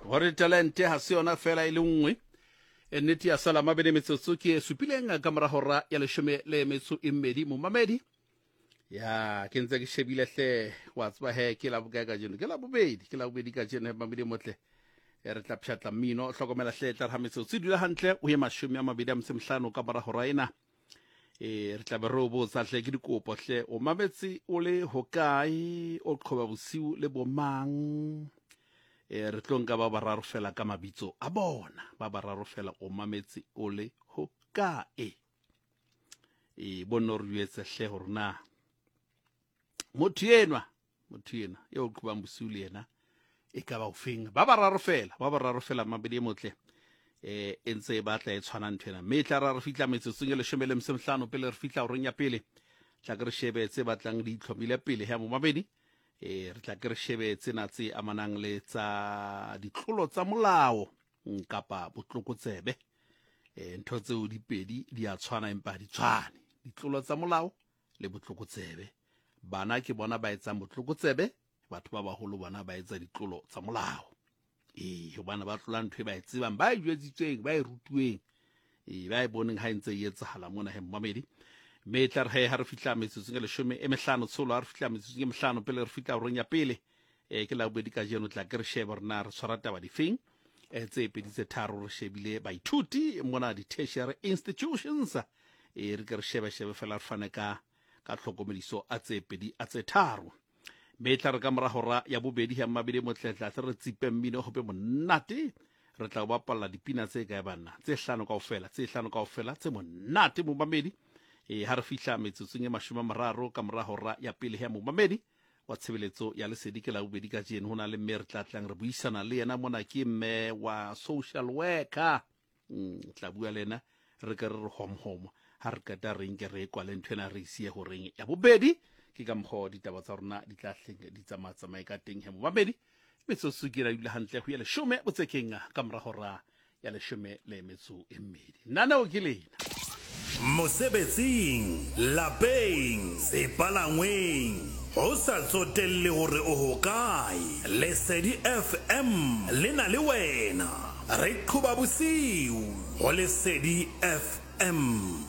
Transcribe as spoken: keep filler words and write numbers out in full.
Hore talente ha se yona fela e le nngwe. E nnete ya sala mabedi metsotso ke e supileng ka mora hora ya leshome le metso e mmedi momamedi. Ya ke ntse ke shebile hle wa tseba he ke la bokae kajeno, ke la bobedi, ke la bobedi kajeno he mamedi motle. E re tla pshatla mmino, hlokomela hle tla re ha metsotso e dula hantle o ye mashome a mabedi a metso e mehlano ka mora hora ena. E re tla be re o botsa hle ke dikopo hle o mametse o le hokae, o qhoba bosiu le bomang. E re tlo nka ba bararo fela ka mabitso a bona, ba bararo fela o mametse o le hokae. E bonno re jwetse hle hore na motho enwa, motho enwa eo o qhobang bosiu le yena e ka ba ofeng. Ba bararo fela, ba bararo fela mabedi e motle. E e ntse e batla e tshwana ntho ena. Mme e tla ra re fihla metsotsong e leshome le metso e mehlano pele re fihla horeng ya pele. Tla ke re shebe tse batlang di itlhomile pele ya momamedi. E re tla ke re shebe tsena tse amanang le tsa ditlolo tsa molao kapa botlokotsebe. E ntho tseo di pedi di a tshwana empa ha di tshwane. Ditlolo tsa molao le botlokotsebe. Bana ke bona ba etsang botlokotsebe, batho ba baholo bona ba etsa ditlolo tsa molao. E hobane ba tlola ntho e ba e tsebang, ba e jwetsitsweng, ba e rutuweng, e ba e boneng ha e ntse e etsahala mona he momamedi. Mme e tla re he ha re fihla metsotsong e leshome e mehlano tsholo, ha re fihla metsotsong e mehlano pele re fihla horeng ya pele, e ke la bobedi kajeno tla ke re shebe hore na re tshwara taba difeng. E tse pedi tse tharo re shebile baithuti mona di-tertiary institutions. E re ke re shebe shebe fela re fane ka ka tlhokomediso a tse pedi a tse tharo. Mme e tla re ka mora hora ya bobedi ya mabedi motle tla tle re tsipe mmino hope monate. Re tla o bapalla dipina tse kae banna, tse hlano kaofela, tse hlano kaofela tse monate momamedi. E ha re fihla metsotsong e mashome a mararo ka mora hora ya pele ya momamedi wa tshebeletso ya lesedi ke la bobedi kajeno. Ho na le mme re tla tlang re buisana le yena mona, ke mme wa social worker. Mm, tla bua le yena re ke re re hom hom ha re qeta re nke re kwale ntho ena re isiye horeng ya bobedi. Ke ka mokgwa ditaba tsa rona di tla hleng di tsamaya tsamaye ka teng he momamedi. Metsotso ke ra dula hantle ho ya leshome botsekeng ka mora hora ya leshome le metso e mmedi. Naneo ke lena. Mosebetsing, lapeng, sepalangweng, ho sa tsotelle hore o hokae, Lesedi F M le na le wena. Re qhoba bosiu ho Lesedi F M.